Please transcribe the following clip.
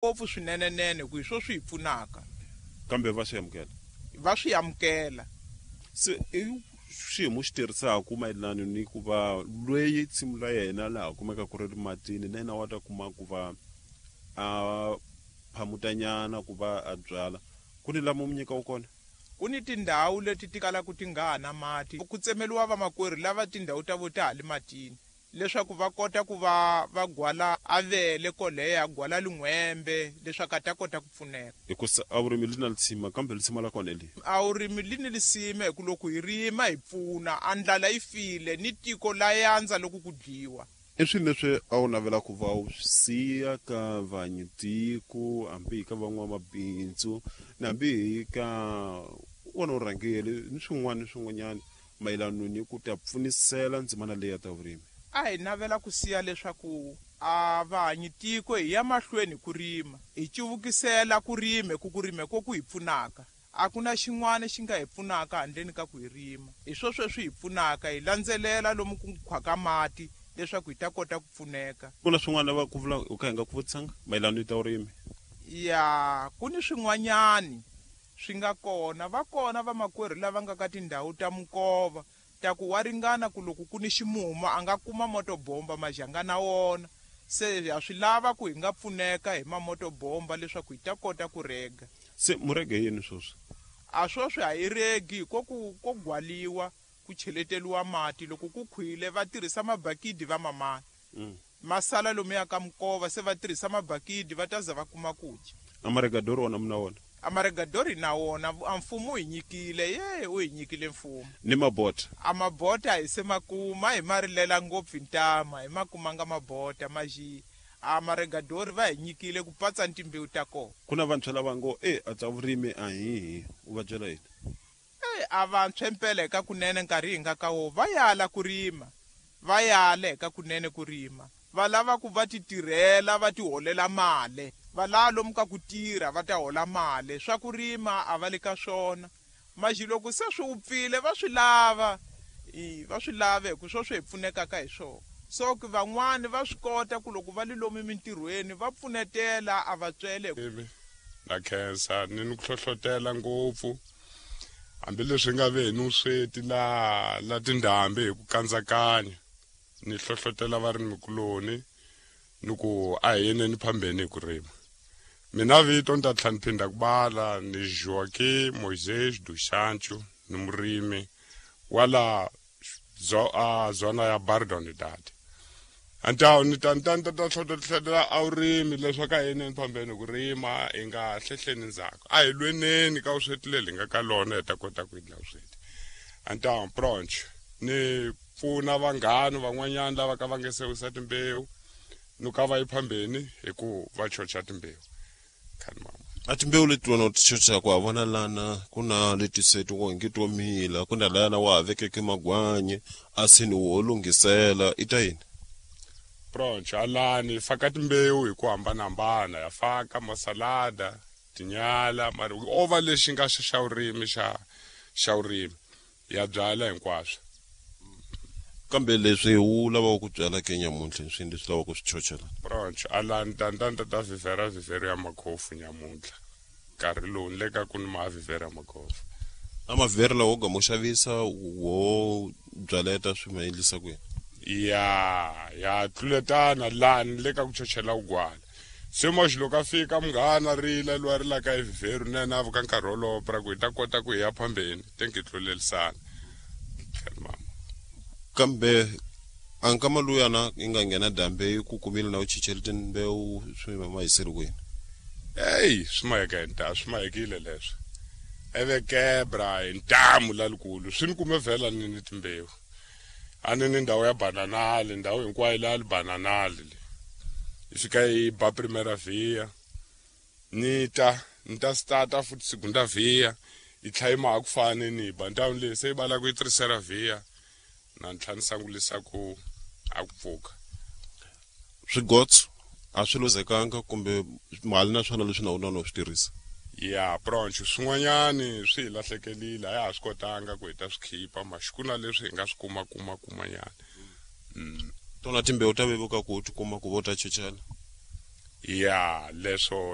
Ngopfu swinenenene ku hi swo swi hi pfunaka. Kambe va swi amukela? Va swi amukela. Se i xiyimo xi tirhisaka mayelana ni ku va lweyi nsimu la yena laha kumeka ku ri matini na yena wa ta kuma ku va a phamutanyana ku va a byala ku ni lama mu nyika wu kona? Ku ni tindhawu leti ti kalaka ti nga ha na mati. Ku tsemeriwa vamakwerhu lava tindhawu ta vo ta ha li matini leswaku va kota ku va va gwala avele koleya, gwala lin'hwembe leswaku a ta kota ku pfuneka. Hikusa a vurimi li na lisima, kambe lisima la kona hi lihi? A vurimi li ni lisima hi ku loko hi rima hi pfuna, a ndlala yi file ni tiko la yandza loko ku dyiwa. I swini leswi a wu navela ku va u swi siya ka vanyitiko, hambi hi ka van'wamabindzu, ni hambi hi ka wona vurhangeri ni swin'wana ni swin'wanyana mayelano ni ku ta pfunisela ndzimana leyi ya ta vurimi? A hi navela ku siya leswaku a vahanyitiko hi ya mahlweni hi ku rima, hi cuvukisela ku rima hi ku ku rima hi ko ku hi pfunaka. A ku na xin'wana xi nga hi pfunaka handleni ka ku hi rima. Hi swo sweswi hi pfunaka, hi landzelela lomu ku khwaka mati leswaku hi ta kota ku pfuneka. Ku na swin'wana va ku vula u ka hi nga ku vutisanga mayelano ni ta vurimi? Ya, ku ni swin'wanyani swi nga kona. Va kona vamakwerhu lava nga ka tindhawu ta minkova ta ku wa ringana ku loko ku ni ximumu a nga kuma motobomba majanga na wona. Se ha swi lava ku hi nga pfuneka hi mamotobomba leswaku hi ta kota ku rega. Se mu rege yini swoswi? A swoswi a hi regi, ko ku ko gwaliwa ku cheleteliwa mati. Loko ku khwile va tirhisa mabakidi va mamana. Ma sala lomuya ka minkova se va tirhisa mabakidi va ta za va kuma ku dya. A maregadori wona mi na wona? A maregadori hi na wona, a mfumo u hi nyikile, ye u hi nyikile mfumo. Ni mabota? A mabota a hi se ma kuma, a hi ma rilela ngopfu hi ntama, hi ma kumanga mabota, maxi a maregadori va hi nyikile ku patsa ni timbewu ta kona. Ku na vantshwa lava ngo, E, a ta vurimi a hi hi, u va byela yini? Eyi, a vantshwa impela hi ka kunene nkarhi hi nga ka wo va yala ku rima, va yala hi ka kunene ku rima. Va lava ku va ti tirhela va ti holela male. Va lava lomu ka ku tirha va ta hola male. Swa ku rima a va le ka swona. Maxi loko se swi wupfile va swi lava, i, va swi lava hi ku swo swi hi pfunekaka hi swona. So ki van'wani va swi kota ku loko va li lomu mintirhweni va pfunetela a va tswele hi. Na khensa ni ni ku hlohlotela ngopfu hambileswi nga ve ni vusweti la la tindhambi hi ku kandzakanya ni hlohlotela varimikuloni ni ku a hi yeneni phambeni hi ku rima. Mina vito ni ta tlhela ni phinda ku bala ni Joaquim Moisés dos Santos ni murimi wa la a zona ya Bardonidade. Antawu ni ta ni ta ni ta ta hlohletela a vurimi leswaku a hi yeneni phambeni ku rima hi nga hlehleni ndzhaku a hi lweneni ka vusweti leli hi nga ka lona hi ta kota ku endla vusweti antawu pronch ni pfuna vanghani van'wanyana lava ka va nge se wisa timbewu ni ka va yi phambeni hi ku va chocha timbewu khani mama. A timbewu leti wena u ti chochaka wa vona lana ku na leti se ti nge to mila ku na lana wa ha vekeke magwanyi a se ni wo lunghisela i ta yini? Pronch alani hi faka timbewu hi ku hambanahambana ya faka masalada tinyala mara o va lexi nga xa xa vurimi xa xa vurimi ya byala hinkwaswo. Kambe leswi u lavaka ku byala ke nyamuntlha i swini leswi lavaka ku swi chochela? Pronch alani tantanta ta vhivhera vhivhero ya makhofu nyamuntlha nkarhi lowu ni le ka ku ni ma vhivhera makhofu. A mavhivhero lawa wo gama u xavisa wo byaleta swi ma endlisa ku yini? Ya ya tluletana laha ni le ka ku chochela vugwala. Se moxi loko a fika munghana rila loyi a rilaka hi vhivheru na yena a vuka nkarhi wolowo pra ku hi ta kota ku hi ya phambeni te ngi tlulelisana. Mama. Kambe a nkama luyana yi nga nghena dambe yi ku kumile na u chichele timbewu swi ma hiseri kwini? Eyi swi maheka hi ntamu swi mahekile leswo eve kebra hi ntamu lalikulu swi ni kume vhela ni ni timbewu a ni ni ndhawu ya bananali ndhawu hinkwayo la li bananali le yi fika yi ba primera via ni ta ni ta stata futhi segunda via yi tlha yi maha ku fane ni ba ndhawu leyi se yi bala ku yi tercera via na ni tlha ni sangulisa ku a ku pfuka. Swigotso a swi luzekanga kumbe mali na swona leswi na wona no swi tirhisa? Ya pronch swin'wanyani swi hi lahlekelile a ya ha swi kotanga ku hi ta swi khipa maxi ku na leswi hi nga swi kuma kuma kumanyana. Tona timbewu ta vevuka ku ti kuma ku vo ta chochela? Ya leswo.